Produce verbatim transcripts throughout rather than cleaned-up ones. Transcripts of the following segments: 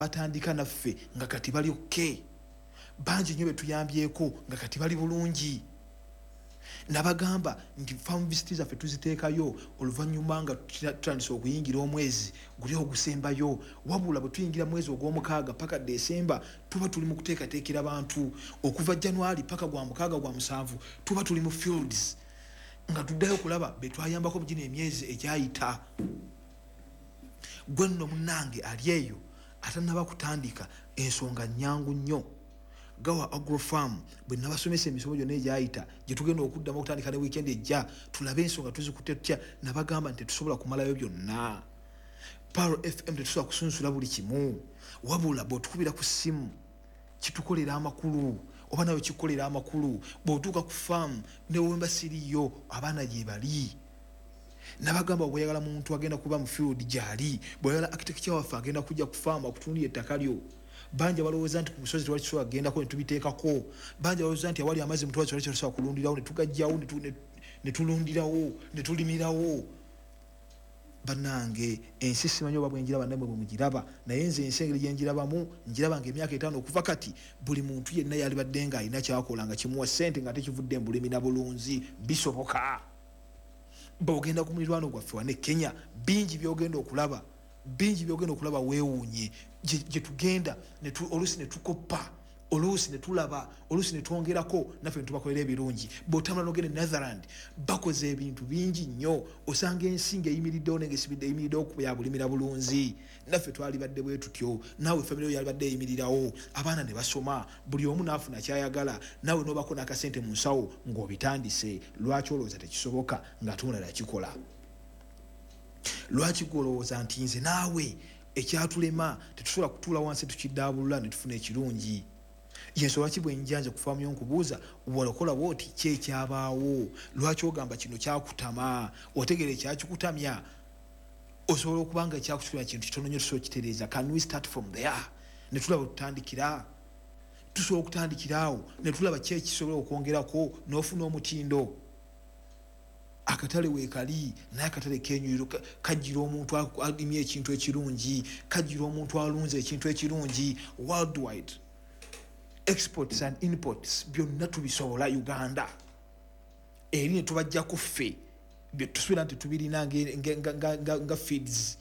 Batandika naffe nga kati bali okay. Bangi nnyo betuyambyeko nga kati bali bulungi. Nabagamba nti farm visit zaffe tuziteekayo oluvannyuma nga tutandise okuyingira omwezi guli ogusembayo. Wabula bwe tuyingira mwezi ogw'omukaaga paka Desemba, tuba tuli mu kuteekateekera bantu. Okuva January paka gwa mukaaga, gwa musanvu, tuba tuli mu fields nga tuddayo okulaba betwayambako mu gino emyezi egyayita. Gwe nno munnange ali eyo atannaba kutandika, ensonga nnyangu nnyo. Gawa Agrofarm bwe nabasomesa emisomo gyonna egyayita, gye tugenda okuddamu okutandika ne weekend ejja, tulabe ensonga tuzikutte tutya. Nabagamba nti tetusobola kumalayo byonna. Pearl F M tetusobola kusunsula buli kimu, wabula bw'otukubira ku ssimu kitukolera amakulu, oba nawe kikukolera amakulu. Bw'otuuka ku faamu newemba siriyo, abaana gye bali. Nabagamba bweyagala muntu agenda kuba mu field gyali, bweyagala architecture waffe agenda kujja ku faamu akutunulira ettaka lyo. Bangi balowooza nti ku busozi tewali kisobola kugendako, ne tubiteekako. Bangi balowooza nti awali amazzi mutwali tewali kisobola kulundirawo, ne tugajjawo, ne tulundirawo, ne tulimirawo. Bannange, ensi simanyi oba bwenjiraba nammwe bwe mugiraba, naye nze ensi engeri gyenjirabamu, njiraba nga emyaka etaano okuva kati buli muntu yenna yalibadde nga alina kyakola nga kimuwa ssente nga tekivudde mu bulimi na bulunzi. Bisoboka. Bwogenda ku mulirwano gwaffe wane Kenya, bingi byogenda okulaba, bingi byogenda okulaba weewuunye. Gye tugenda oluusi ne tukoppa, oluusi ne tulaba, oluusi ne twongerako, naffe ne tubakolera ebirungi. Bw'otambula n'ogenda e Netherland, bakoze ebintu bingi nnyo. Osanga ensi ng'eyimiriddewo naye ng'esibidde eyimiriddewo ku ya bulimi na bulunzi. Naffe twalibadde bwe tutyo. Naawe famire yo yalibadde eyimirirawo, abaana ne basoma, buli omu n'afuna kyayagala, naawe n'obako n'akasente mu nsawo ng'obitandise. Lwaki olowooza tekisoboka ng'ate omulala yakikola? Lwaki gwolowooza nti nze naawe ekyatulema tetusobola kutuula wansi tukiddaabulula ne tufuna ekirungi? Yensonga lwaki bwenjanja ku faamu yo nkubuuza, walokola bwoti, kyekyabaawo? Lwaki ogamba kino kyakutama? Otegeera ekyakikutamya? Osobola okuba nga ekyakukitamya kintu kitono nnyo, tusobola okitereeza. Can we start from there ne tulaba tutandikira? Tusobola okutandikira awo ne tulaba ki ekisobola okwongerako n'ofuna omutindo. Akatale weekali, naye akatale kenyuiro kajjira omuntu alimye ekintu ekirungi, kajjira omuntu alunze ekintu ekirungi. Worldwide exports and imports byonna tubisobola. Uganda eri ne tubajjaku ffe byetusuubira nti tubirina nga feeds,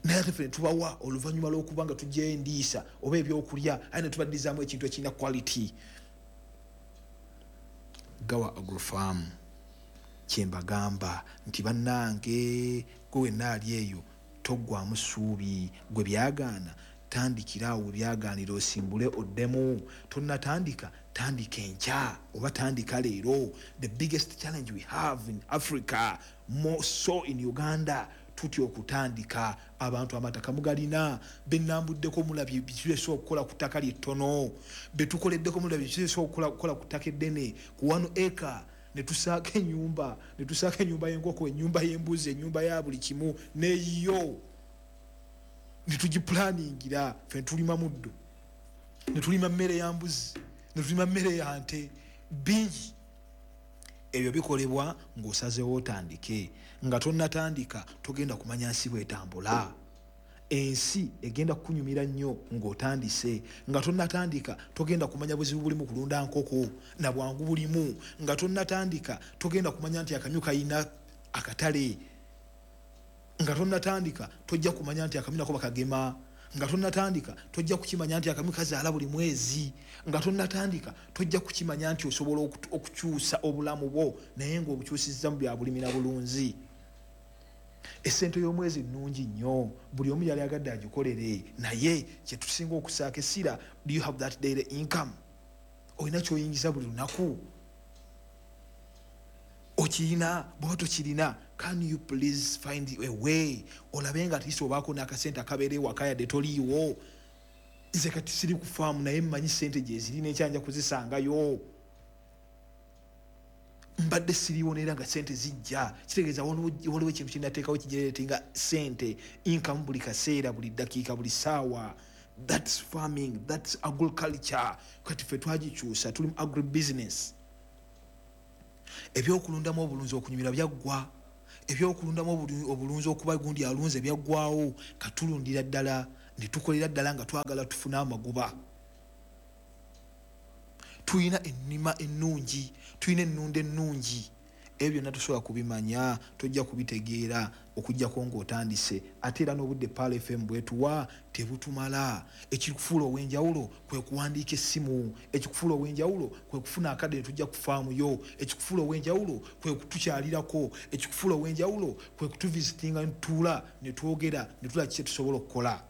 naye ate ffe ne tubawa oluvannyuma lw'okuba nga tujjayo endiisa oba ebyokulya, aye ne tubaddizaamu ekintu ekirina quality. Gawa Agrofarm, kyembagamba nti bannange, gwe wenna ali eyo toggwamu ssuubi. Gwe byagaana, tandikira awo byagaanira, osimbule oddemu. Tonnatandika, tandika enkya oba tandika leero. The biggest challenge we have in Africa, more so in Uganda, tutya okutandika. Abantu amataka mugalina. Benambuddeko mulabye bikisobola okukola ku ttaka lyettono. Betukoleddeko mulabye bikisobola okukola ku ttaka eddene, ku one acre netusaako enyumba, netusaako enyumba y'enkoko, enyumba y'embuzi, enyumba ya buli kimu neyiyo, netugipulaningira. Fe netulima muddo, netulima mmere ya mbuzi, netulima mmere ya nte. Bingi ebyo bikolebwa ng'osazeewo otandike. Nga tonnatandika togenda kumanya nsi bwetambula. Ensi egenda kukunyumira nnyo ng'otandise. Nga tonnatandika togenda kumanya buzibu bulimu kulunda nkoko na bwangu bulimu. Nga tonnatandika togenda kumanya nti akamyu kayina akatale. Nga tonnatandika tojja kumanya nti akamyu nako bakagema. Nga tonnatandika tojja kukimanya nti akamyu kazaala buli mwezi. Nga tonnatandika tojja kukimanya nti osobola okukyusa obulamu bwo, naye ng'obukyusizza mu bya bulimi na bulunzi. Essente y'omwezi nnungi nnyo, buli omu yali agadde agikolere, naye kyetusinga okusaako essira, do you have that daily income? Olina kyoyingiza buli lunaku? Okirina? Bwaba tokirina, can you please find a way olabe nga atleast obaako n'akasente akabeera ewaka yadde toliiwo? Nze kati siri ku faamu, naye mmanyi sente gyeziri nekyanja kuzisangayo. Mbadde siriiwo neera nga sente zijja. Kitegeeza waliwo ekintu kyenateekawo kigeneratinga sente, income, buli kaseera, buli ddakiika, buli ssaawa. That's farming, that's agriculture. Kati ffe twagikyusa, tuli mu agribusiness. Ebyokulundamu obulunzi okunyumira byaggwa, ebyokulundamu obulunzi okuba gundi alunze byaggwawo. Katulundira ddala Ne tukolera ddala nga twagala tufune amagoba. Tulina ennima ennungi, tulina ennunda ennungi. Ebyo byonna tosobola kubimanya, tojja kubitegeera okuggyako ng'otandise. Ate era n'obudde Pearl F M bwetuwa tebutumala. Ekikufuula ow'enjawulo kwe kuwandiika essimu, ekikufuula ow'enjawulo kwe kufuna akadde ne tujja ku faamu yo, ekikufuula ow'enjawulo kwe kutukyalirako, ekikufuula ow'enjawulo kwe kutuvisitinga ne tutuula ne twogera ne tulaba kiki tusobola okukola.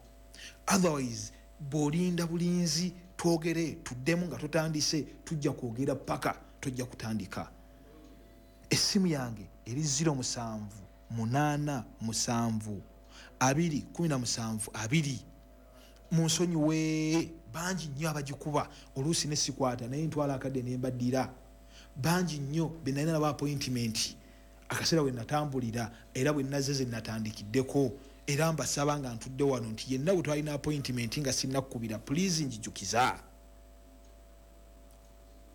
Otherwise bw'olinda bulinzi twogere tuddemu nga totandise, tujja kwogera paka tojja kutandika. Essimu yange eri zero musanvu munaana musanvu abiri kumi na musanvu abiri. Munsonyiwe, bangi nnyo abagikuba oluusi ne sikwata, naye ntwala akadde ne mbaddira. Bangi nnyo be nalina nabo appointment akaseera we natambulira era bwe nazze ze natandikiddeko, era mbasaba nga ntudde wano nti yenna bwe twalina appointment nga sinnakukubira, please njijukiza.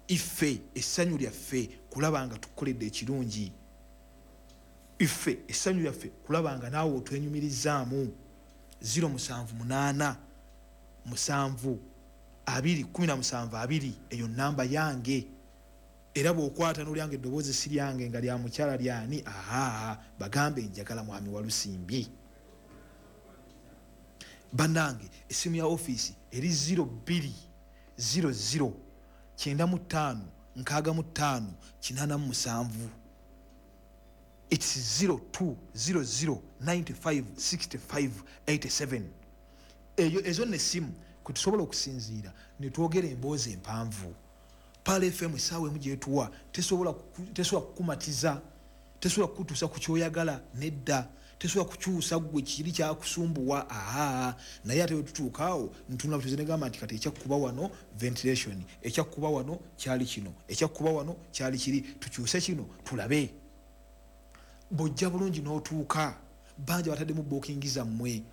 Iffe essanyu lyaffe kulaba nga tukukoledde ekirungi, iffe essanyu lyaffe kulaba nga naawe otwenyumirizaamu. Zero musanvu munaana musanvu abiri kumi na musanvu abiri, eyo namba yange. Era bw'okwata n'olyange eddoboozi si lyange nga lya mukyala lyani, aha, bagambe njagala mwami Walusimbi. Bannange essimu ya ofiisi eri zero bbiri zero zero kyenda mu ttaano nkaaga mu ttaano kinaana mu musanvu. It's zero two zero zero ninety five sixty five eighty seven. Eyo ezo nne essimu kwe tusobola okusinziira ne twogera emboozi empanvu. Pearl F M essaawa emu gyetuwa tesobola ku-, tesobola kukumatiza, tesobola kukutuusa ku ky'oyagala nedda, tesobola kukyusa ggwe kiri kyakusumbuwa, aha. Naye ate bwe tutuuka awo ntunula butuuzi ne gamba nti kati ekyakkuba wano ventilation, ekyakkuba wano kyali kino, ekyakkuba wano kyali kiri, tukyuse kino tulabe. Bw'ojja bulungi n'otuuka, bangi bataddemu booking zammwe,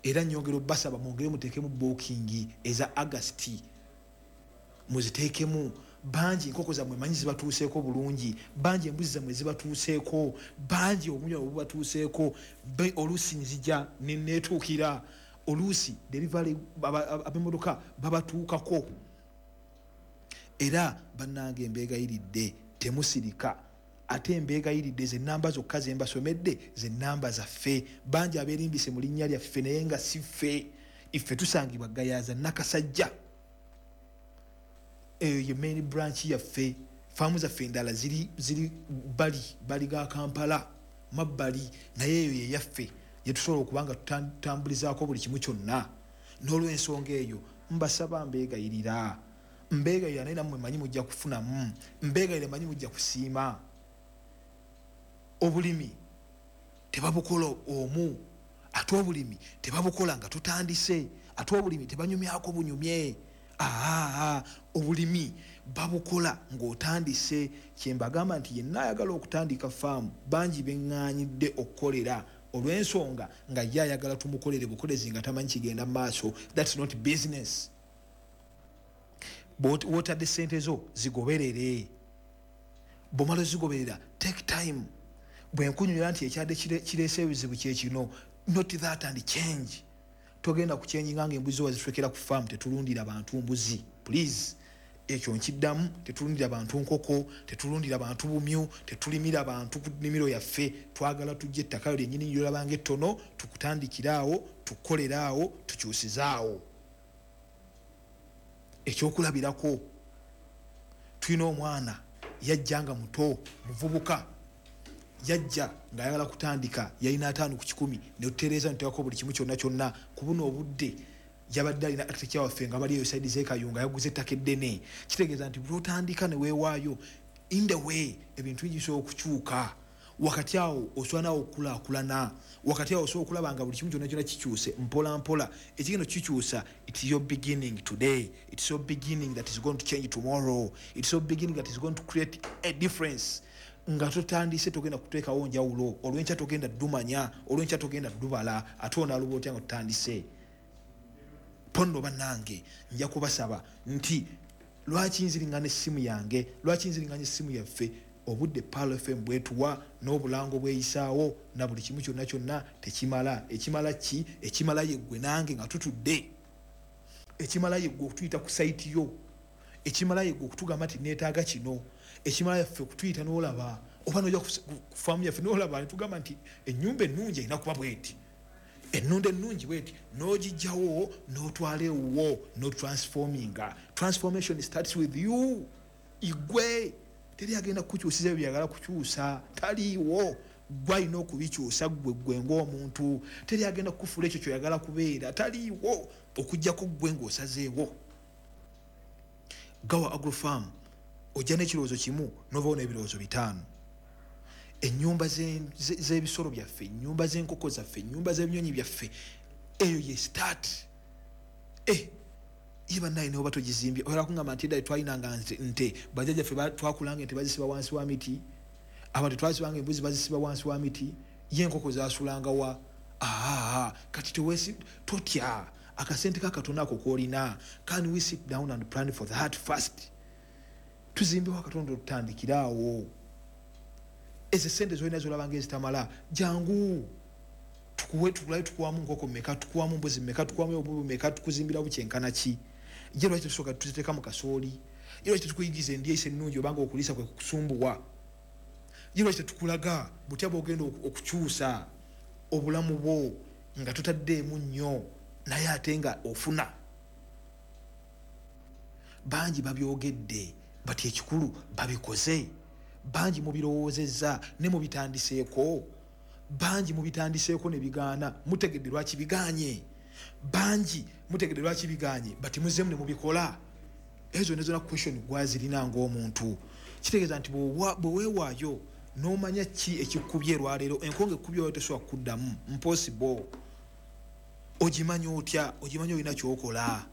era nnyongera obbasaba mwongere muteekemu booking eza August, muziteekemu. Bangi enkoko zammwe manyi zibatuuseeko bulungi, bangi embuzi zammwe zibatuuseeko, bangi obumyu bubatuuseeko. Be oluusi nzija ne neetuukira, oluusi delivery ab'emmotoka babatuukako. Era bannange mbeegayiridde temusirika, ate mbeegayiridde ze nnamba zokka ze mbasomedde ze nnamba zaffe. Bangi abeerimbise mu linnya lyaffe naye nga si ffe. Iffe tusangibwa Gayaza Nakasajja, eyo ye main branch yaffe. Faamu zaffe endala ziri, ziri bali, bali ga Kampala mabbali, naye eyo ye yaffe gye tusobola okuba nga tutambulizaako buli kimu kyonna. N'olw'ensonga eyo mbasaba mbeegayirira, mbeegayirira naye nammwe manyi mujja kufunamu, mbeegayirira manyi mujja kusiima. Obulimi tebabukola omu, ate obulimi tebabukola nga tutandise, ate obulimi tebanyumyako bunyumye. Aha, obulimi babukola ng'otandise. Kye mbagamba nti yenna ayagala okutandika faamu, bangi beŋŋaanyidde okukolera olw'ensonga nga ye ayagala tumukolere bukolezi nga tamanyi kigenda mu maaso. That's not business. Bw'ot-, w'otadde ssente zo zigoberere, bw'omala ozigoberera take time. Bwe nkunyumira nti ekyadde kire-, kireese ebizibu kye kino, not that and change. Togenda kuchanginga ng'embuzi wazitwekera ku faamu. Tetulundira bantu mbuzi, please. Ekyo nkiddamu, tetulundira bantu nkoko, tetulundira bantu bumyu, tetulimira bantu ku nnimiro yaffe. Twagala tujje ettaka lyennyini ly'olabanga ettono, tukutandikiraawo, tukukoleraawo, tukyusizaawo. Ekyokulabirako, tulina omwana yajja nga muto, muvubuka, yajja ng'ayagala kutandika, yalina ataano ku kikumi, ne tutereeza ne tuteekako buli kimu kyonna kyonna. Ku buno obudde yabadde alina architecture waffe nga bali eyo side z'e Kayunga, yaguze ettaka eddene. Kitegeeza nti bw'otandika ne weewaayo, in the way ebintu bingi bisobola okukyuka. Wakati awo osobola naawe okukulaakulana, wakati awo osobola okulaba nga buli kimu kyonna kyonna kikyuse mpola mpola. Ekigenda okukikyusa, it's your beginning today, it's your beginning that is going to change tomorrow, it's your beginning that is going to create a difference. Nga totandise togenda kuteekawo njawulo, olw'enkya togenda ddumanya, olw'enkya togenda ddubala, ate onaaluba otya nga totandise? Ponno bannange, nja kubasaba nti lwaki nziringana essimu yange, lwaki nziringanya essimu yaffe? Obudde Pearl F M bwetuwa n'obulango bweyisaawo na buli kimu kyonna kyonna tekimala. Ekimala ki? Ekimala yeggwe nange nga tutudde. Ekimala yeggwe okutuyita ku site yo. Ekimala yeggwe okutugamba nti neetaaga kino. Ekimala yaffe okutuyita n'olaba oba n'ojja ku faamu yaffe n'olaba ne tugamba nti ennyumba ennungi erina kuba bweti, ennunda ennungi bweti, n'ogijjawo n'otwala ewuwo n'otransforminga. Transformation starts with you. Igwe teri agenda kukukyusiza ebyo byagala kukyusa, taliiwo. Gwe alina okubikyusa ggwe ggwe ng'omuntu. Teri agenda kukufuula ekyo ky'oyagala kubeera, taliiwo, okuggyako ggwe ng'osazeewo. Gawa Agrofarm ojja n'ekirowoozo kimu n'ovaawo n'ebirowoozo bitaano. Ennyumba z'ebisolo byaffe, ennyumba z'enkoko zaffe, ennyumba z'ebinyonyi byaffe, eyo ye start. Eh, ye bannaye ne oba togizimbye, oyagala kungamba nti edda twalinanga nte, bajjajjaffe twakulanga ente bazisiba wansi wa miti, abantu twasibanga embuzi bazisiba wansi wa miti, ye enkoko zasulanga wa? Aa, kati tewesi totya akasente kakatono ako k'olina. Can we sit down and plan for that first? Tuzimbewo akatono tutandikiraawo. Ezo sente zolina zolabanga ezitamala, jangu tukuwe, tukulabe tukuwamu nkoko mmeka, tukuwamu mbuzi mmeka, tukuwamu obubi mmeka, tukuzimbira bukyenkana ki. Ye lwaki tetusooka tuziteeka mu kasooli? Ye lwaki tetukuyigiza endyesa ennungi obanga okuliisa kwe kukusumbuwa? Ye lwaki tetukulaga butya bw'ogenda okukyusa obulamu bwo nga totaddeemu nnyo naye ate nga ofuna? Bangi babyogedde bati ekikulu babikoze, bangi mubirowoozezza ne mubitandiseeko, bangi mubitandiseeko ne bigaana. Mutegedde lwaki bigaanye, bangi mutegedde lwaki bigaanye bati muzeemu ne mubikola. Ezo ne zonna question gwazirina ng'omuntu. Kitegeeza nti bwe weewaayo n'omanya ki ekikubye lwaleero, enkonge ekkubye oyo tesobola kuddamu, impossible. Ogimanya otya? Ogimanya olina ky'okola.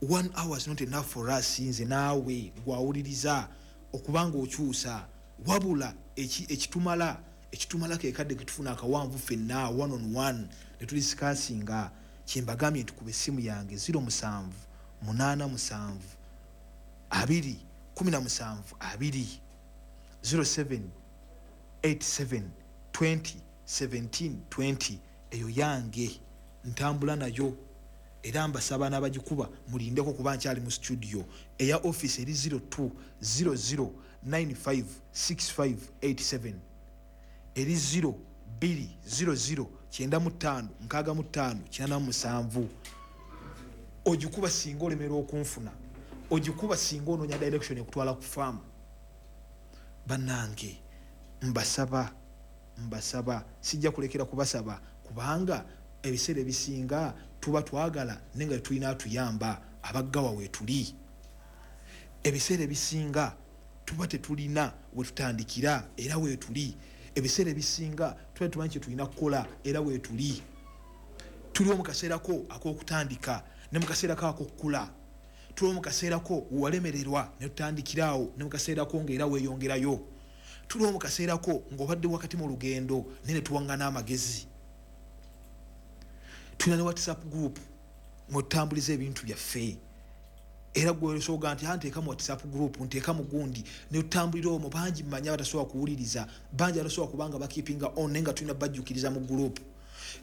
One hour is not enough for us, nze naawe gwawuliriza okubanga okyusa. Wabula ekitumala ekitumala ke kadde ketufuna akawanvu ffenna one on one ne tudiscussinga. Kyembagambye nti kuba essimu yange zero musanvu munaana musanvu abiri kumi na musanvu abiri zero seven eight seven twenty seventeen twenty. Eyo yange ntambula nayo era mbasaba n'abagikuba mulindeko kuba nkyali mu studio. Eya office eri zero two zero zero nine five six five eight seven, eri zero bbiri zero zero kyenda mu ttaano nkaaga mu ttaano kinaana mu musanvu. Ogikuba singa olemerwa okunfuna, ogikuba singa onoonya direction ekutwala ku farm. Bannange mbasaba, mbasaba, sijja kulekera kubasaba kubanga ebiseera ebisinga tuba twagala naye nga tulina atuyamba, abaggawa weetuli. Ebiseera ebisinga tuba tetulina we tutandikira era weetuli. Ebiseera ebisinga tuba tumanyi kye tulina kukola era weetuli. Tuliwo mu kaseerako ak'okutandika ne mu kaseerako ak'okukula. Tuliwo mu kaseerako walemererwa ne tutandikiraawo ne mu kaseerako ng'era weeyongerayo. Tuliwo mu kaseerako ng'obadde wakati mu lugendo naye ne tuwaŋŋana amagezi. Tulina ne WhatsApp group mwe tutambuliza ebintu byaffe. Era gwe osobola nti nteeka mu WhatsApp group, nteeka mu gundi ne tutambulira omwo. Bangi mmanyi abatasobola kuwuliriza, bangi abatasobola kubanga bakeepinga on naye nga tulina bajjukiriza mu group.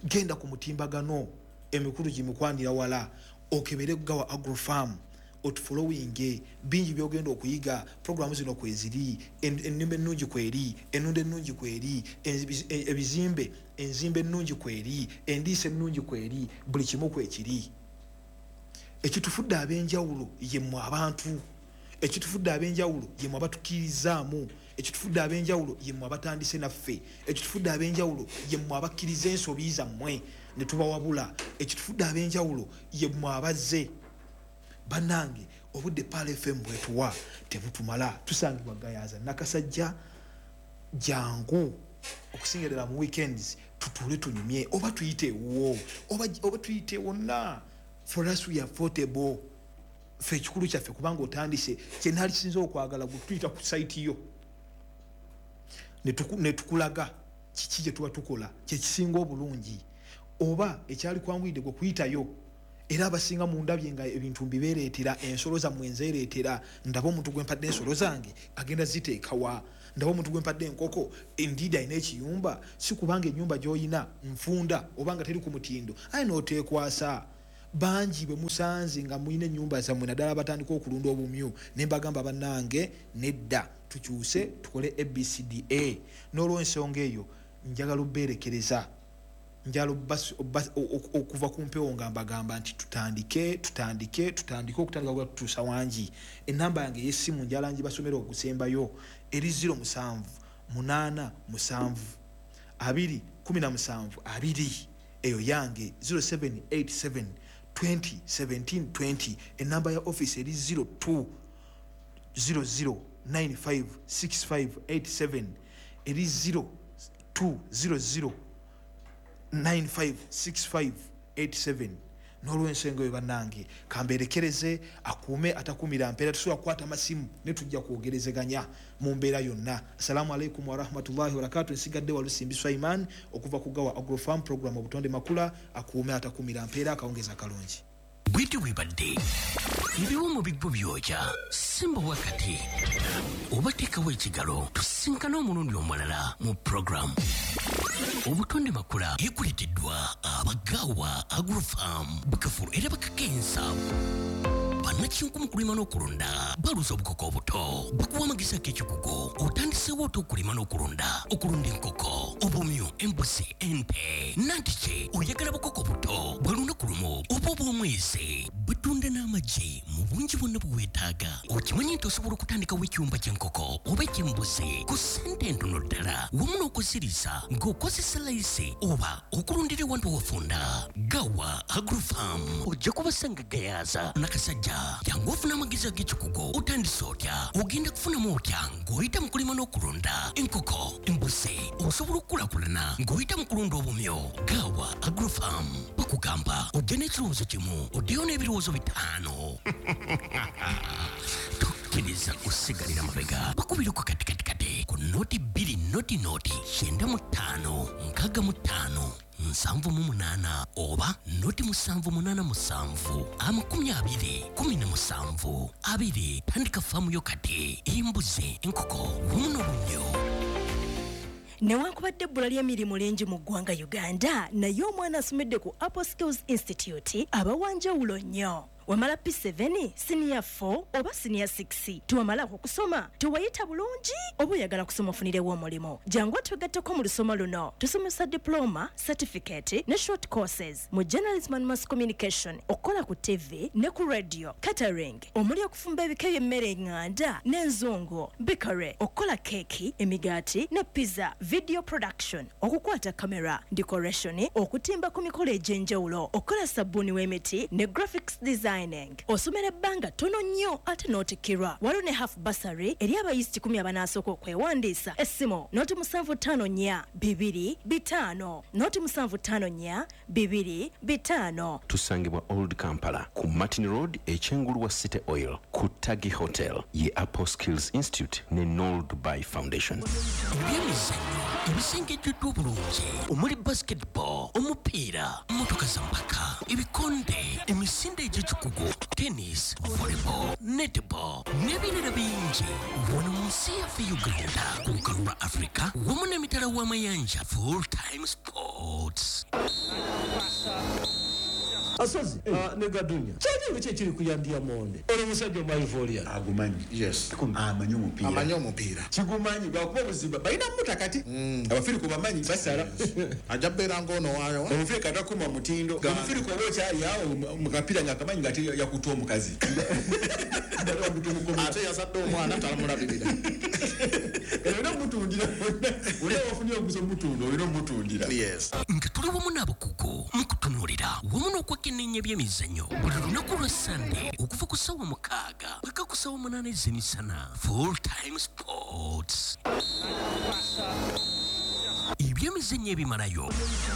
Genda ku mutimbagano emikulu gimikwanira wala, okebere Gawa Agrofarm, otufollowinge, bingi byogenda okuyiga. Programu zino kweziri, ennimba ennungi kweri, ennunda ennungi kweri, ebizimbe, enzimba ennungi kweri, endiisa ennungi kweri, buli kimu kwekiri. Ekitufudde ab'enjawulo ye mmwe abantu, ekitufudde ab'enjawulo ye mmwe abatukkiririzaamu, ekitufudde ab'enjawulo ye mmwe abatandise naffe, ekitufudde ab'enjawulo ye mmwe abakkiriza ensobi zammwe ne tubawabula, ekitufudde ab'enjawulo ye mmwe abazze. Bannange obudde Pearl F M bwetuwa tebutumala. Tusangibwa Gayaza Nakasajja. Jangu okusinga ddala mu weekends tutuule tunyumye, oba tuyite ewuwo, oba, oba tuyite wonna. For us we are affordable. Ffe ekikulu kyaffe kubanga otandise kye naali kisinza okwagala gwe tuyita ku site yo ne tukulaga kiki kye tuba tukola kye kisinga obulungi, oba ekyali kwanguyidde gwe kuyitayo Era abasinga mundabye nga ebintu mbibeereetera, ensolo zammwe nzeereetera. Ndaba omuntu gwe mpadde ensolo zange agenda ziteekawa, ndaba omuntu gwe mpadde enkoko endiidi alina ekiyumba. Si kubanga ennyumba gy'oyina nfunda obanga teri ku mutindo, aye n'oteekwasa. Bangi bwe musanze nga mulina ennyumba zammwe, naddala batandika okulunda obumyu, ne mbagamba bannange nedda, tukyuse tukole A B C D A. N'olwensonga eyo njagala obbeerekereza, njagala okuva ku mpewo nga mbagamba nti tutandike, tutandike, tutandike okutandika kuba tutuusa wangi. Ennamba yange ey'essimu njagala ngibasomere ogusembayo, eri zero musanvu munaana musanvu abiri kumi na musanvu abiri, eyo yange zero seven eight seven twenty seventeen twenty. Ennamba ya office eri zero two zero zero nine five six five eight seven, eri zero two zero zero nine five six five eight seven. N'olw'ensonga eyo bannange kambeerekereze, akuume atakuumira mpeera. Tusobola kukwata amasimu ne tujja kwogerezeganya mu mbeera yonna. Assalamu alaikum warahmatullahi wabarakatuh. Nsigadde Walusimbi Swaiman okuva ku Gawa Agrofarm program Obutonde Makula. Akuume atakuumira mpeera, akawungezi akalungi. Bwiti bwebadde ebiwumu bigbo byokya simba wakati obateekawo ekigalo. Tusinkane omulundi omulala mu program Obutonde Makula ekuleeteddwa Abagawa Agrofarm, bakafulu era bakakensa bannakinku mu kulima n'okulunda. Baluza obukoko obuto, bakuwa amagezi ag'ekikugu. Otandiseewo otya okulima n'okulunda? Okulunda enkoko, obumyu, embuzi, ente, nantiki oyagala bukoko buto bwa lunaku lumu oba obw'omwezi. Batunda n'amagi mu bungi bwonna bwe weetaaga. Okimanyi nti osobola okutandikawo ekyumba ky'enkoko oba eky'embuzi ku ssente entono ddala, wamu n'okuziriisa ng'okozesa layisi oba okulundira ewantu wafunda. Gawa Agrofarm ojja kubasanga Gayaza Nakasajja. Jangu ofuna amagezi ag'ekikugu. Otandise otya? Ogenda kufunamu otya ng'oyita mu kulima n'okulunda enkoko, embuzi? Osobola okukulaakulana ng'oyita mu kulunda obumyu. Gawa Agrofarm bakugamba ojja n'ekirowoozo kimu oddeyo n'ebirowoozo bitaano. Tokkiriza kusigalira mabega. Bakubireko katikatikati ku noti bbiri noti noti kyenda mu ttaano nkaaga mu ttaano nsanvu mu munaana oba noti musanvu munaana musanvu amakumi abiri kumi na musanvu abiri. Tandika faamu yo kati, embuzi, enkoko wamu n'obumyu. Newankubadde ebbula ly'emirimu lingi mu ggwanga Uganda, naye omwana asomedde ku Apple Skills Institute aba wa njawulo nnyo. Wamala P seven, senior four oba senior six, tewamalako kusoma, tewayita bulungi oba oyagala kusoma ofunirewo omulimu, jangu otwegatteko mu lusoma luno. Tusomesa diploma, certificate ne short courses mu journalism and mass communication, okukola ku T V ne ku radio, catering omuli okufumba ebika by'emmere eŋŋanda n'enzungu, bakery, okukola keeki, emigaati ne pizza, video production, okukwata kamera, decoration, okutimba ku mikolo egy'enjawulo, okukola sabbuuni w'emiti ne graphics design. Osomera ebbanga ttono nnyo ate n'otikkirwa. Waliwo ne half bursary eri abayizi kikumi abanaasooka okwewandiisa. Essimu noti musanvu ttaano nnya bibiri bitaano noti musanvu ttaano nnya bibiri bitaano. Tusangibwa Old Kampala ku Martin Road ekyengulu wa City Oil ku Tagi Hotel ye Apple Skills Institute ne Nol Dubai Foundation. Ebyemizannyo ebisengejjeddwa obulungi omuli basketball, omupiira, mmotoka za mpaka, ebikonde, emisinde egy'ekikugu, tennis, volleyball, netball n'ebirala bingi. Wano mu nsi yaffe Uganda, ku lukalu lwa Africa wamu n'emitala w'amayanja. Full time sports. Asozi uh, ne Gadunya kyali ki ekiri ku Yandia Monde? Oli musajja omwaivoria agumanyi. Yes, amanyi omupiira, amanyi omupiira kigumanyi lwakuba obuzibu balina muta kati abafirika bamanyi basala ajja beera ng'ono waayo omufirika takuma mutindo. Omufirika oba okyali awo mu kapiira nga akamanyi nga ate yakuta omukazi ate yazadde omwana talamulabirira. Olina omutundira, olina wafunye omuguzi omutunda, olina omutundira. Yes, nga tuli wamu n'abakugu mu kutunuulira wamu n'okwekenneenya ebyemizannyo buli lunaku lwa Sande okuva ku ssaawa mukaaga paka ku ssaawa munaana ez'emisana. Full time sports, ebyemizannyo ebimalayo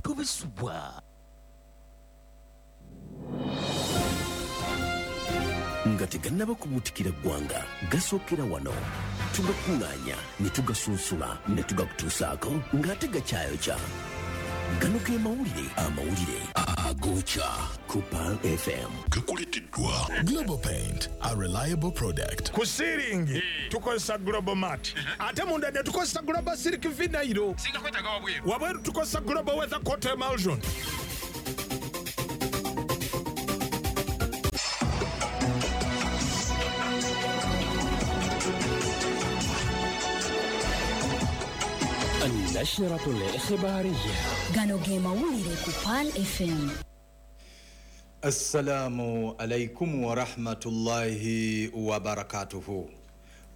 tubisubwa. Nga tegannaba kubuutikira ggwanga, gasookera wano. Tugakuŋŋaanya ne tugasunsula ne tugakutuusaako ng'ate gakyayokya. Gano ge mawulire amawulire agokya ku Pearl F M. Gakuleteddwa Global Paint, a reliable product. Ku ceiling tukozesa Global Mat, ate munda ne tukozesa Global Silk Vinyl. Wabweru tukozesa Global Weather Coat Emulsion. النشرة الإخبارية. Gano ge mawulire ku Pearl F M. Assalamu alaikum wa rahmatullahi wa barakatuhu.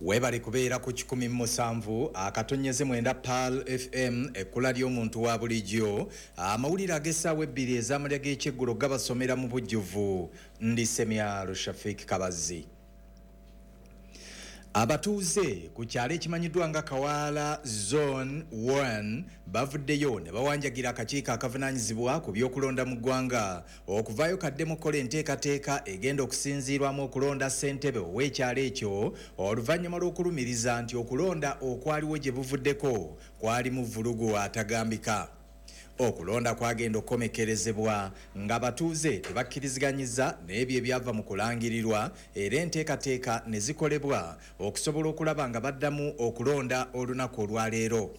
Webali kubeera ku kikumi musanvu akatonyeze mwenda Pearl F M ekkula ly'omuntu wa bulijjo. Amawulire ag'essaawa ebbiri ez'amalya g'ekyeggulo gabasomera mu bujjuvu. Ndi Semyalo Shafik Kabazi. Abatuuze ku kyalo ekimanyiddwa nga Kawaala Zone one bavuddeyo ne bawanjagira akakiiko akavunaanyizibwa ku by'okulonda mu ggwanga okuvaayo kaddemu okukola enteekateeka egenda okusinziirwamu okulonda ssentebe ow'ekyalo ekyo oluvannyuma lw'okulumiriza nti okulonda okwaliwo gye buvuddeko kwalimu vvulugu atagambika. Okulonda kwagenda okukomekerezebwa ng'abatuuze tebakkiriziganyizza n'ebyo ebyava mu kulangirirwa era enteekateeka ne zikolebwa okusobola okulaba nga baddamu okulonda olunaku olwaleero.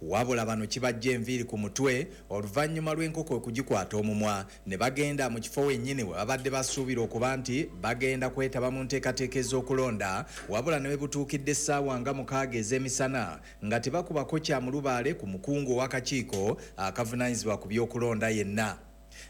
Wabula bano kibajja enviiri ku mutwe oluvannyuma lw'enkoko okugikwata omumwa ne bagenda mu kifo wennyini we babadde basuubira okuba nti bagenda kwetaba mu nteekateeka ez'okulonda, wabula ne we butuukidde essaawa nga mukaaga ez'emisana nga tebakubako kya mulubaale ku mukungu ow'akakiiko akavunaanyizibwa ku by'okulonda yenna.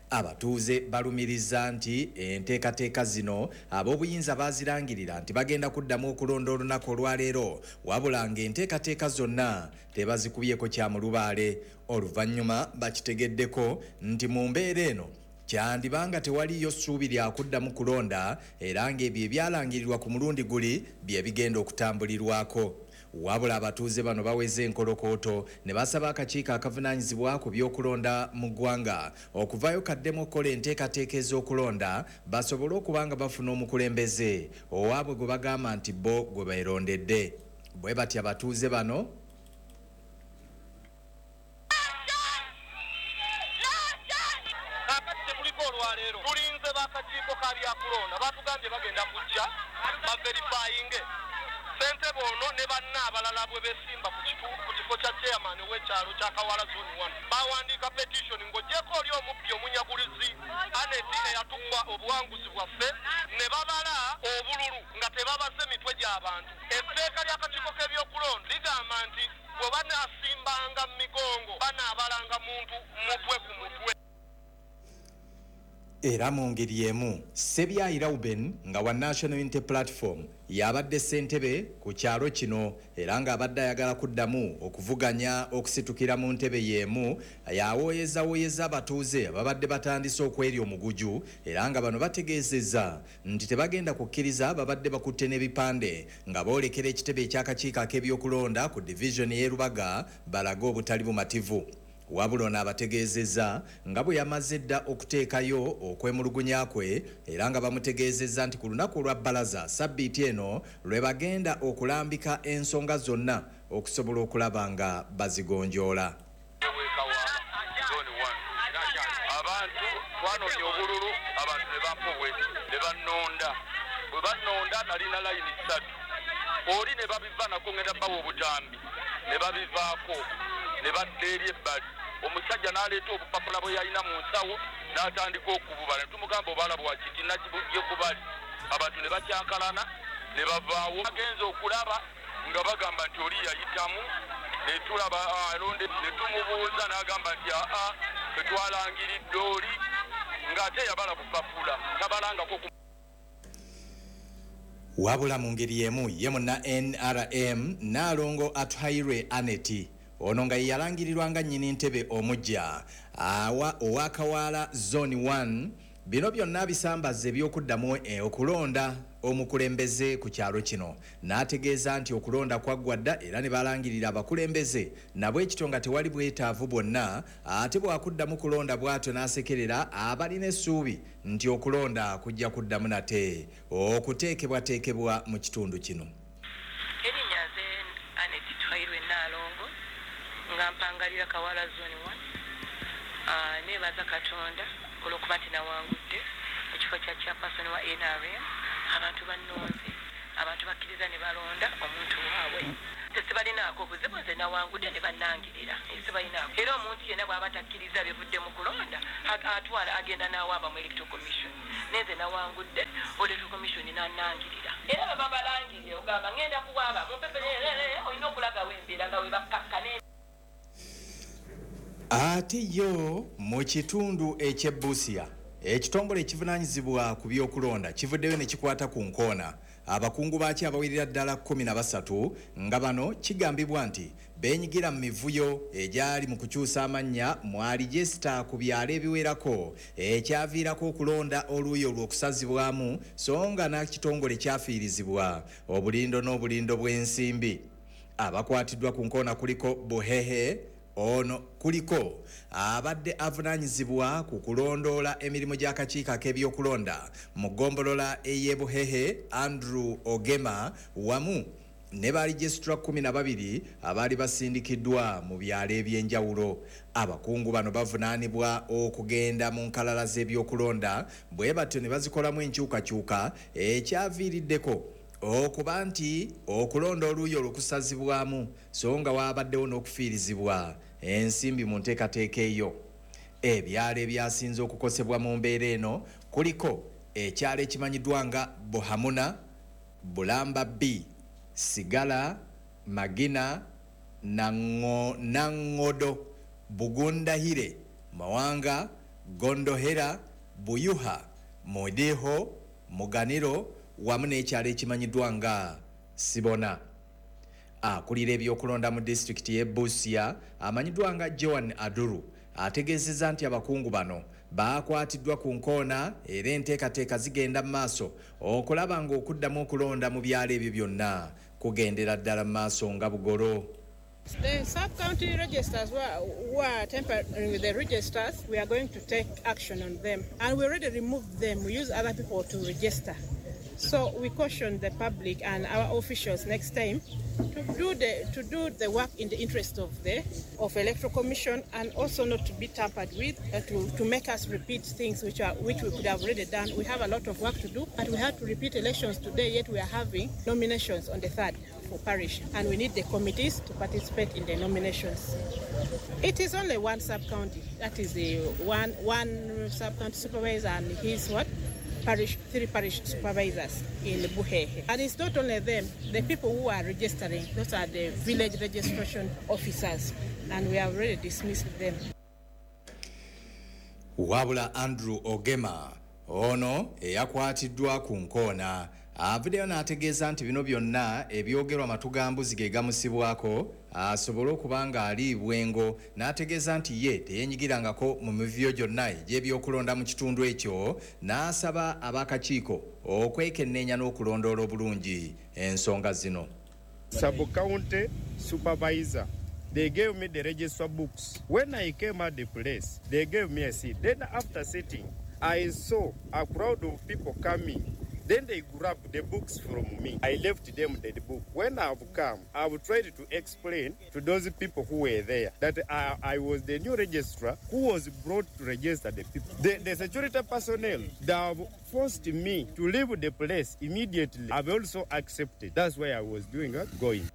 Abatuuze balumiriza nti enteekateeka zino ab'obuyinza baazirangirira nti bagenda kuddamu okulonda olunaku olwaleero, wabula ng'enteekateeka zonna tebazikubyeko kya mulubaale. Oluvannyuma bakitegeddeko nti mu mbeera eno kyandibanga tewaliyo ssuubi lya kuddamu kulonda era ng'ebyo ebyalangirirwa ku mulundi guli bye bigenda okutambulirwako. Wabula abatuuze bano baweze enkolokooto ne basaba akakiiko akavunaanyizibwa ku by'okulonda mu ggwanga okuvaayo kaddemu okukola enteekateeka ez'okulonda basobole okuba nga bafuna omukulembeze owaabwe gwe bagamba nti bo gwe beerondedde. Bwe batyo abatuuze bano tulinze bakakiiko ka byakulonda batugambye bagenda kujja baverifayinge ssentebe ono ne banna abalala bwe beesimba ku kifo kya chairman w'ekyalo kya Kawaala Zone one. Bawandiika petition ng'oggyeko oli omubbi omunyagulizi Aneti eyatuwa obuwanguzi bwaffe ne babala obululu nga tebabaze mitwe gy'abantu. Etteeka ly'akakiiko k'ebyokulonda ligamba nti bwe banaasimbanga mu migongo banaabalanga muntu mutwe ku mutwe. Era mu ngeri emu Sebyayi Reuben nga wa National Unity Platform yabadde ssentebe ku kyalo kino era ng'abadde ayagala kuddamu okuvuganya okusitukira mu ntebe y'emu yawooyezawoyeza abatuuze ababadde batandise okwerya omuguju era nga bano bategeezezza nti tebagenda kukkiriza babadde bakutte n'ebipande nga boolekera ekitebe eky'akakiiko ak'ebyokulonda ku divizoni y'e Rubaga balage obutali bumativu. Wabula ono abategeezezza nga bwe yamaze dda okuteekayo okwemulugunya kwe era nga bamutegeezezza nti ku lunaku olwa bbalaza sabbiiti eno lwe bagenda okulambika ensonga zonna okusobola okulaba nga bazigonjoola. Abantu twanoonya obululu abantu ne bampa obwesi ne bannonda bwe bannonda nalina layini ssatu oli ne babiva nako ngenda bawa obutambi ne babivaako ne badda eri ebbali. Omusajja n'aleeta obupapula bwe yalina mu nsawo n'atandika okububala ne tumugamba obala bwakiti nakibugye kubali abantu ne bakyankalana ne bavaawo. Bagenze okulaba nga bagamba nti oli yayitamu ne tulaba alonde ne tumubuuza n'agamba nti aa ffe twalangiridde oli ng'ate yabala bupapula tabalangako. Wabula mu ngeri emu ye munna N R M Nnaalongo Atuhairwe Aneti ono nga yalangirirwa nga nnyini ntebe omujja awa owa Kawaala Zone one bino byonna bisambaza ebyokuddamu okulonda omukulembeze ku kyalo kino n'ategeeza nti okulonda kwaggwa dda era ne balangirira abakulembeze nabwe ekito nga tewali bwetaavu bwonna ate bwakuddamu kulonda bw'atyo n'asekerera abalina essuubi nti okulonda kujja kuddamu nate okuteekebwateekebwa mu kitundu kino. Erinnya nze Aneti Twairwe Nnaalongo nga mpangalira Kawaala Zone one. Nebaza Katonda olw'okuba nti nawangudde ekifo kya chairperson wa N R M. Abantu bannonze, abantu bakkiriza ne balonda omuntu waabwe. Tesibalinaako buzibu, nze nawangudde ne bannangirira, sibalinaako. Era omuntu yenna bw'aba takkiriza bivudde mu kulonda, atwala agenda n'awaaba mu Electoral Commission. Nenze nawangudde, Electoral Commission n'annangirira. Era baba balangirire ogamba ngenda kuwaaba, mumpepe olina okulagawo embeera nga we bakkakkana. Ate yo mu kitundu eky'e Busia, ekitongole ekivunaanyizibwa ku by'okulonda kivuddeyo ne kikwata ku nkoona abakungu baakyo abawerera ddala kkumi na basatu nga bano kigambibwa nti beenyigira mu mivuyo egyali mu kukyusa amannya mu alijesita ku byalo ebiwerako, ekyaviirako okulonda oluuyi olw'okusazibwamu, so nga n'ekitongole kyafiirizibwa obulindo n'obulindo bw'ensimbi. Abakwatiddwa ku nkoona kuliko Buhehe, ono kuliko abadde avunaanyizibwa ku kulondoola emirimu gy'akakiiko ak'ebyokulonda mu ggombolola ey'e Buhehe, Andrew Ogema, wamu ne balijesitura kkumi na babiri abaali basindikiddwa mu byalo eby'enjawulo. Abakungu bano bavunaanibwa okugenda mu nkalala z'ebyokulonda bwe batyo ne bazikolamu enkyukakyuka ekyaviiriddeko okuba nti okulonda oluuyi olw'okusazibwamu, so nga waabaddewo n'okufiirizibwa ensimbi mu nteekateeka eyo. Ebyalo ebyasinze okukosebwa mu mbeera eno kuliko ekyalo ekimanyiddwa nga Buhamuna, Bulamba B, Sigala, Magina, Nangodo, Bugundahire, Mawanga, Gondohera, Buyuha, Mudiho, Muganiro, wamu n'ekyalo ekimanyiddwa nga Sibona. Akulira ebyokulonda mu disitulikiti y'e Busia amanyiddwa nga Joan Aduru ategeezezza nti abakungu bano baakwatiddwa ku nkoona era enteekateeka zigenda mu maaso okulaba ng'okuddamu okulonda mu byalo ebyo byonna kugendera ddala mu maaso nga bugolo. The sub-county registers who are, who are tampering with the registers, we are going to take action on them. And we already removed them. We use other people to register. So we caution the public and our officials next time to do the to do the work in the interest of the of Electoral Commission, and also not to be tampered with, uh, to, to make us repeat things which are which we could have already done. We have a lot of work to do, but we had to repeat elections today, yet we are having nominations on the third for parish, and we need the committees to participate in the nominations. It is only one sub-county, that is the one one sub-county supervisor and his what? Parish, three parish supervisors in Buhehe. And it's not only them, the people who are registering, those are the village registration officers, and we have already dismissed them. Wabula Andrew Ogema ono eyakwatiddwa ku nkoona avuddeyo n'ategeeza nti bino byonna ebyogerwa matugambuzi ge gamusibwako asobole okuba nga ali bwengo, n'ategeeza nti ye teyeenyigirangako mu mivuyo gyonna egy'ebyokulonda mu kitundu ekyo, n'asaba ab'akakiiko okwekenneenya n'okulondoola obulungi ensonga zino. Sub-county supervisor, they gave me the register books. When I came at the place, they gave me a seat. Then after sitting, I saw a crowd of people coming. Then they grabbed the books from me. I left them the book. When I've come, I've tried to explain to those people who were there that I, I was the new registrar who was brought to register the people. The, the security personnel, they have forced me to leave the place immediately. I've also accepted. That's why I was doing it, going.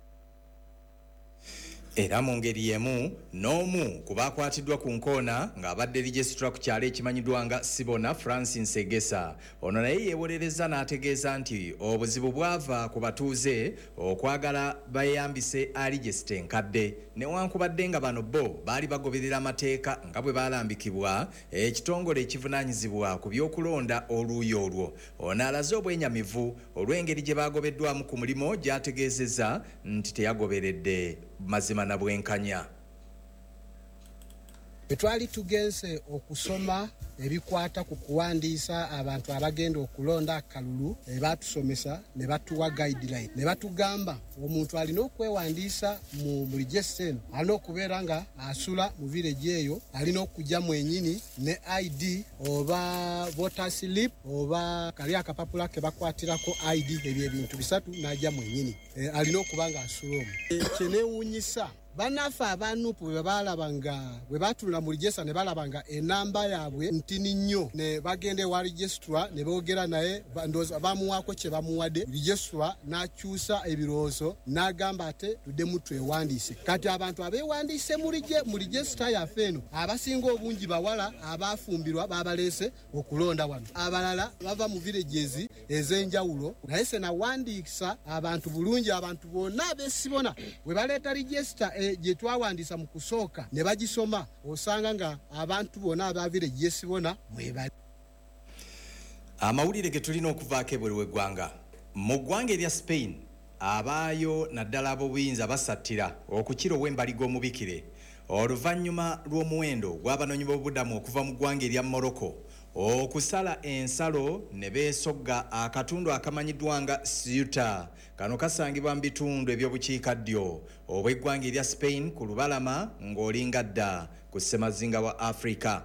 Era mu ngeri y'emu n'omu ku baakwatiddwa ku nkoona ng'abadde registra ku kyalo ekimanyiddwa nga Sibona, Francis Egesa, ono naye yeewolereza n'ategeeza nti obuzibu bwava ku batuuze okwagala beeyambise alijesita enkadde, newankubadde nga bano bo baali bagoberera amateeka nga bwe baalambikibwa ekitongole ekivunaanyizibwa ku by'okulonda oluuyi olwo. Ono alaze obwenyamivu olw'engeri gye baagobeddwamu ku mulimu gy'ategeezezza nti teyagoberedde mazima na bwenkanya. Bwe twali tugenze okusoma ebikwata ku kuwandiisa abantu abagenda okulonda akalulu, batusomesa ne batuwa guideline ne batugamba omuntu alina okwewandiisa mu register eno alina okubeera nga asula mu village eyo, alina okujja mwennyini ne I D oba voter slip oba kali akapapula ke bakwatirako I D, ebyo ebintu bisatu n'ajja mwennyini, e, alina okuba nga asula omwo. Kyenewuunyisa Bannaffe aba N U P bwe balaba nga bwe batunula mu register ne balaba nga enamba yaabwe ntini nnyo, ne bagenda ewa registrar ne boogera naye, ba- ndowooza bamuwaako kye bamuwadde. Registrar n'akyusa ebirowoozo n'agamba ate tuddemu twewandiise. Kati abantu abeewandiise mu rege- mu register yaffe eno, abasinga obungi bawala abafumbirwa, babaleese okulonda wano. Abalala bava mu villages ez'enjawulo, naye senawandiisa abantu bulungi. Abantu bonna abesibona bwe baleeta register eh, gye twawandiisa mu kusooka ne bagisoma, osanga nga abantu bonna aba village yesibona mwebali. Amawulire ge tulina okuvaako ebweru w'eggwanga: mu ggwanga erya Spain, abaayo naddala ab'obuyinza basattira okukira ow'embaliga omubikire oluvannyuma lw'omuwendo gw'abanoonyi b'obubudamu okuva mu ggwanga erya Morocco okusala ensalo ne beesogga akatundu akamanyiddwa nga Ceuta. Kano kasangibwa mu bitundu ebyobukiikaddyo obw'eggwanga erya Spain ku lubalama ng'olinga dda ku ssemazinga wa Africa.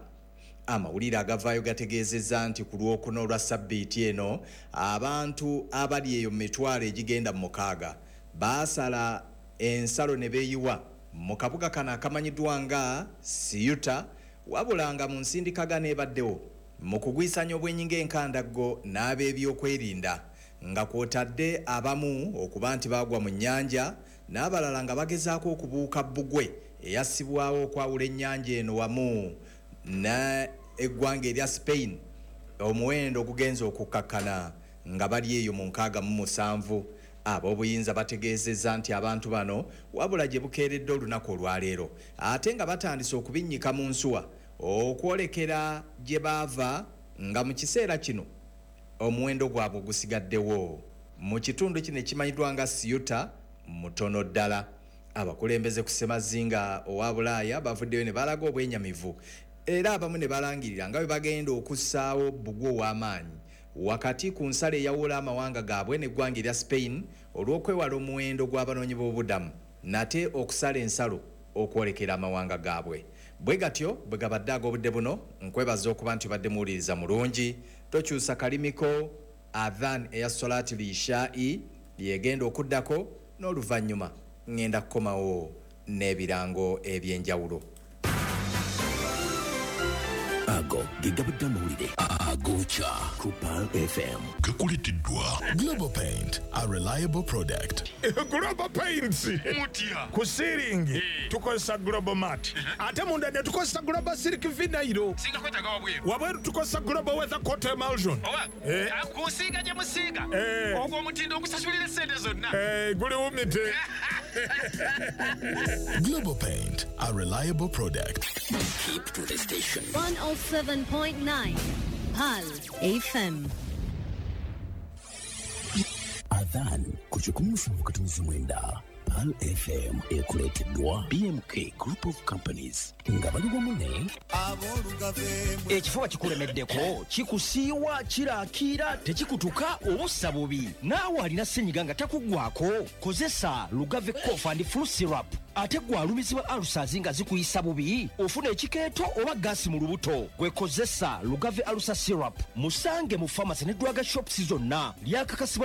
Amawulire agavaayo gategeezezza nti ku Lwokuna olwa sabbiiti eno, abantu abali eyo mu mitwalo egigenda mu mukaaga baasala ensalo ne beeyiwa mu kabuga kano akamanyiddwa nga Ceuta, wabula nga mu nsindikagano ebaddewo mu kugwisanya obwenyinga enkandaggo n'ab'ebyokwerinda, nga kwotadde abamu okuba nti baagwa mu nnyanja n'abalala nga bagezaako okubuuka bbugwe eyassibwawo okwawula ennyanja eno wamu n'eggwanga erya Spain, omuwendo ogugenza okukkakkana nga bali eyo mu nkaaga mu musanvu. Ab'obuyinza bategeezezza nti abantu bano wabula gye bukeeredde olunaku olwaleero ate nga batandise okubinnyika mu nsuwa okwolekera gye baava, nga mu kiseera kino omuwendo gwabwe gusigaddewo mu kitundu kino ekimanyiddwa nga Ceuta mutono ddala. Abakulembeze ku ssemazinga owa Bulaaya bavuddeyo ne balaga obwenyamivu, era abamu ne balangirira nga bwe bagenda okussaawo bbugwe ow'amaanyi wakati ku nsalo eyawula amawanga gaabwe n'eggwanga erya Spain olw'okwewala omuwendo gw'abanoonyi b'obubudamu nate okusala ensalo okwolekera amawanga gaabwe. Bwe gatyo bwe gabadde ag'obudde buno. Nkwebaza okuba nti obadde muwuliriza mulungi. Tokyusa kalimiko. Adhan eya solati lishai yegenda okuddako, n'oluvannyuma ŋŋenda kukomawo n'ebirango ebyenjawulo. Ago ge gabadde amawulire agokya ku Pearl F M. Gakuleeteddwa Global Paint, a reliable product. Global Paints. Mutya? Ku ceiling tukozesa Global Mat, ate munda ne tukozesa Global Silk Vinyl. Singa kwetaaga wabweru? Wabweru tukozesa Global Weather Coat Emulsion. Owa Eh. kusiiga gye musiiga, Eh. ogwo omutindo ogusasulira esente zonna. Eh, guli wumite. Global Paint, a reliable product. Keep to the station. one oh seven point nine Pearl F M. Adhan ku kikumi musanvu katunzi mwenda Pearl F M ekuleeteddwa B M K Group of Companies nga bali wamu ne Ekifuba kikulemeddeko, kikusiiwa, kirakiira, tekikutuka, obussa bubi. Naawe alina senyiga nga takuggwako, kozesa Lugave Cough and Flu Syrup. Ate gwe alumizibwa ulcers nga zikuyisa bubi, ofuna ekikeeto oba gaasi mu lubuto, gwe kozesa Lugave Ulcer Syrup. Musange mu pharmacy ne drug shops zonna. Lyakakasibwa.